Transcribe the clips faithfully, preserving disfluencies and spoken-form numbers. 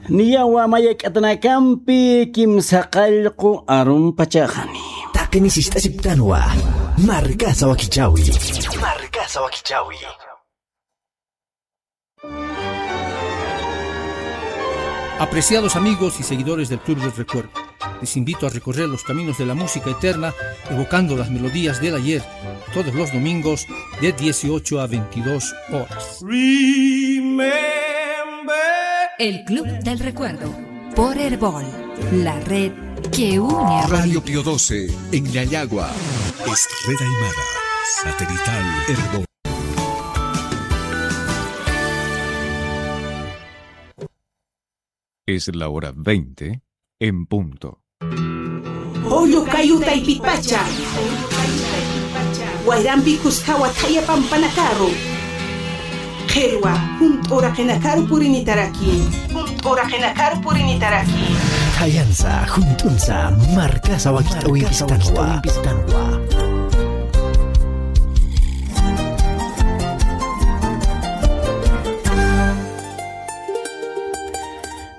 Niyawa mayak'atanakampi kimsa qallqu arumpachaxani. Taqini sist'asiptanwa. Markasa wakichawi. Markasa wakichawi. Apreciados amigos y seguidores del Club del Recuerdo, les invito a recorrer los caminos de la música eterna, evocando las melodías del ayer, todos los domingos de dieciocho a veintidós horas. Remember. El Club del Recuerdo, por Erbol, la red que une a Radio Bolivia. Pío doce, en Yayagua. Es red aymara, satelital Erbol. Es la hora veinte en punto. Pollo kayu taypipacha. Wayrampi kuskawa thaya pampanakaru. Qhilwa, junt'uraqinakaru purinitaraki. Junt'uraqinakaru purinitaraki. Thayansa, junt'unsa, markasa wakit'awimpistanwa.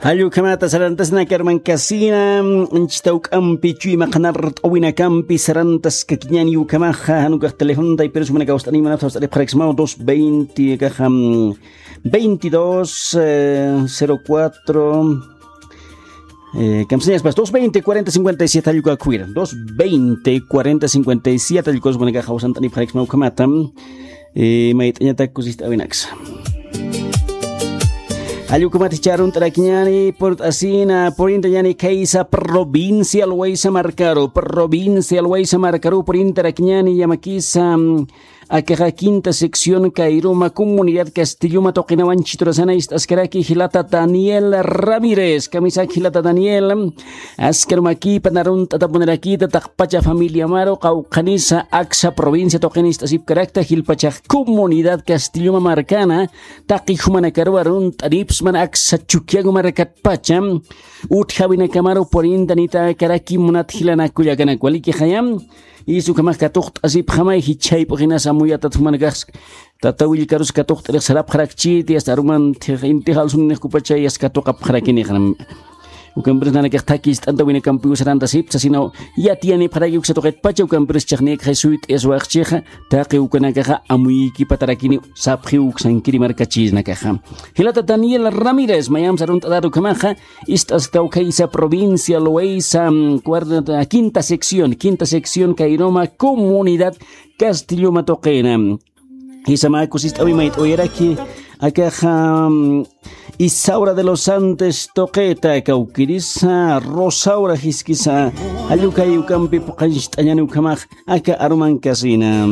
Jallukhamata sarantasna karmankasina, anchita uk'ampi chuymaqanar t'awinakampi sarantaskakiñani ukhamaxa, janukax telefonta ipirus manakaw st'ani manapsa st'ani pxaraksmaw dos veinte kaxa, veintidós, eh, cero cuatro, eh, kamsañaspas, dos veinte, cuarenta, cincuenta y siete jallukakhuwira, dos veinte, cuarenta, cincuenta y siete jallukasmanakaxa usant'ani pxaraksmaw ukhamata. Eh, mayt'añatak kusist'awinaksa. Jallukhamat jichha arunt'arakiñani, purt'asina, purintañani khaysa provincia Loaysa markaru, provincia Loaysa markaru purintarakiñani, yamakisa, mm, akaxa quinta sección Kairuma, comunidad Castilluma tuqinawan chiturasana ist'askaraki jilata Daniel Ramírez, kamisak jilata Daniel, askar makipan arunt'atapunarakita taqpacha familiamaru qawqhanisa aksa provincia tuqin ist'asipkarakta jilpachax comunidad Castilluma markana taqi jumanakaru arunt'anipsman aksa Chukiyawu markatpacha utjawinakamaru purintanitakaraki munat jilanakullakanakwa likiqayam. Is ukhamax katuqt'asipxamay jichhayp'uxinas amuyatat jumanakax. Tata Willkarus katuqt'irix sarapxarakchiti, hasta aruman thix inti jalsunix kupacha yas katuqapxarakinixanam. Ukampirus nanakax thakist'anta winakampiw sarantasipsa, sino yatiyanipxaraki uksa tuqitpacha, ukampirus chixnïkxay suyt'iyaswaxchixa, taqi ukanakaxa amuyikipatarakini sapxiw uksankiri markachisnakaxa. Jilata Daniel Ramírez, mayamsa arunt'atat ukhamaxa, ist'asktaw khaysa provincia Loaysa, mm, cuarta, quinta sección, quinta sección Kairuma, comunidad Castilluma tuqina. Jisa mä kusist'awi mayt'awiraki, akaxa, mm, Isaura de los Andes tuqita, kawkirisa Rosaura jiskisa, jallukay ukampi puqancht'añani ukhamax, aka arumankasina.